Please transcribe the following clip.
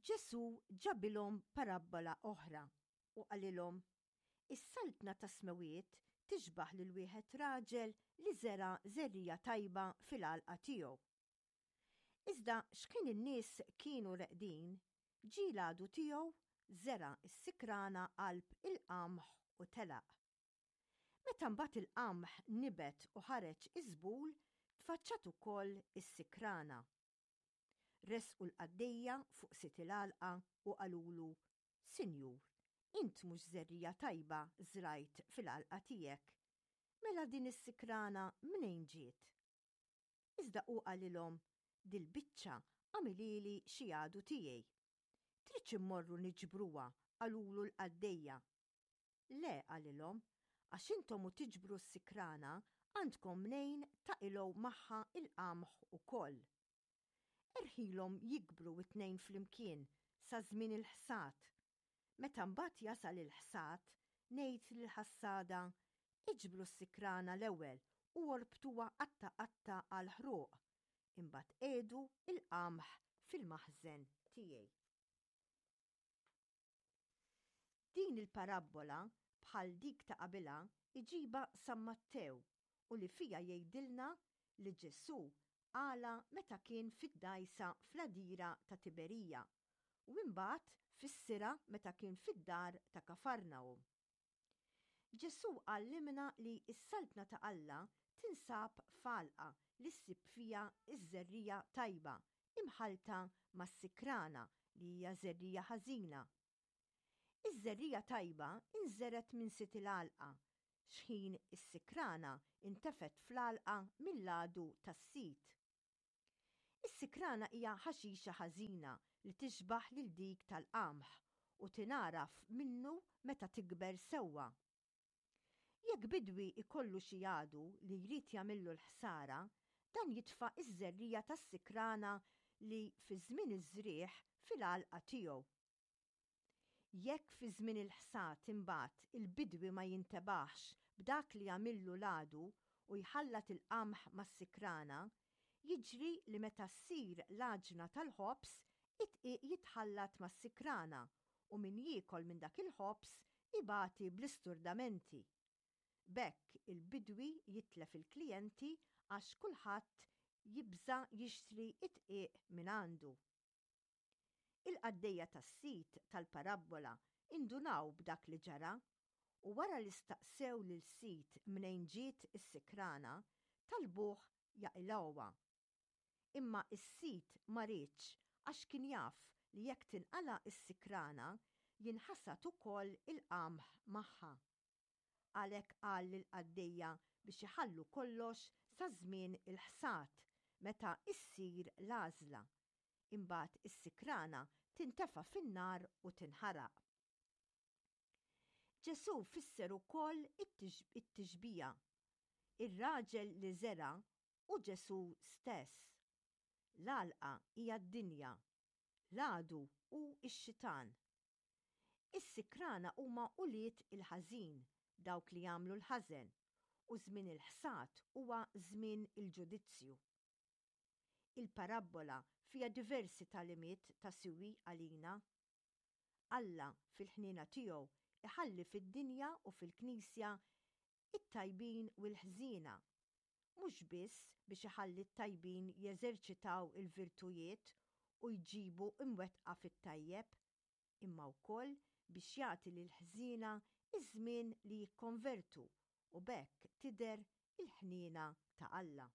Ġesù ġabilhom parabbola oħra u qalilhom, Is-saltna tas-smewwiet tixbah lil wieħed raġel li żera' żerriegħa tajba fil-għalqa tiegħu. Iżda x'kien in-nies kienu reqdin, ġie l-għadu tiegħu, żera' s-sikrana qalb il-qamħ u telaq. Meta mbagħad il-qamħ nibet u ħareġ iż-żbul, tfaċċat ukoll is-sikrana. Resqu l-qaddejja fuq sid il-għalqa u qalulu, Sinjur, int mhux żerriegħa tajba żrajt fil-għalqa tiegħek. Mela din is-sikrana mnejn ġiet? Iżda hu qalilhom, Dil-biċċa għamilhieli xi għadu tiegħi. Tridx immorru niġbruha, qalulu l-qaddejja. Le, qalilhom, għax intom u tiġbru s-sikrana għandkom mnejn taqilgħu magħha l-qamħ ukoll. Erħilhom jikbru t-tnejn flimkien sa żmien il-ħsad. Meta mbagħad jasal il-ħsad, ngħid lill-ħassada, 'Iġbru s-sikrana l-ewwel u orbtuha qatta' qatta' għall-ħruq, imbagħad qiegħdu l-qamħ fil-maħżen tiegħi. Din il-parabbola, bħal dik ta' qabilha, iġibha San Mattew u li fiha jgħidilna li Ġesù qalha meta kien fid-dgħajsa fl-għadira ta' Tiberija u imbagħad fissirha meta kien fid-dar ta' Kafarnahum. Ġesù għallimna li s-Saltna ta' Alla tinsab f'għalqa li ssib fiha ż-żerriegħa tajba imħallta mas-sikrana li hija żerriegħa ħażina. Iż-żerriegħa tajba nżergħet minn sid il-għalqa, xħin is-sikrana ntefgħet fl-għalqa mill-għadu tas-sid. Is-sikrana hija ħaxixa ħażina li tixbah lil dik tal-qamħ u tingħaraf minnu meta tikber sewwa. Jekk bidwi jkollu xi għadu li jrid jagħmillu l-ħsara, dan jitfa' ż-żerriegħa tas-sikrana li fi żmien iż-żrigħ fil-għalqa tiegħu. Jekk fi żmien il-ħsad imbagħad il-bidwi ma jintebaħx b'dak li għamillu l-għadu u jħallat il-qamħ mas-sikrana, jiġri li meta ssir l-għaġna tal-ħobż, id-dqiq jitħallat mas-sikrana u min jiekol minn dak il-ħobż ibati bl-isturdamenti. B'hekk il-bidwi jitlef il-klijenti għax kulħadd jibża' jixtri d-dqiq mingħandu. Il-qaddejja tas-sid tal-parabbola indunaw b'dak li ġara, u wara li staqsew lil sid mnejn ġiet is-sikrana, talbuh jaqilgħuha. Imma s-sid ma riedx għax kien jaf li jekk tinqala' s-sikrana, jinħasad ukoll il-qamħ magħha. Għalhekk qal lill-qaddejja biex iħallu kollox sa żmien il-ħsad, meta ssir l-għażla. Imbagħad is-sikrana tintefa' fin-nar u tinħaraq. Ġesù fisser ukoll it-tixbiha. Ir-raġel li żera' hu Ġesù stess. L-għalqa hija d-dinja. L-għadu hu x-xitan. Is-sikrana huma ulied il-ħażin, dawk li jagħmlu l-ħażen, u żmien il-ħsad huwa żmien il-ġudizzju. Il-parabbola fiha diversi tagħlimiet ta' siwi għalina. Alla, fil-ħniena tiegħu, iħalli fid-dinja u fil-Knisja it-tajbin u l-ħżiena, mhux biss biex iħalli t-tajbin jeżerċitaw il-virtujiet u jġibu mwettqa fit-tajjeb, imma wkoll biex jagħti lill-ħżiena ż-żmien li jikkonvertu u b'hekk tidher il-ħniena ta' Alla.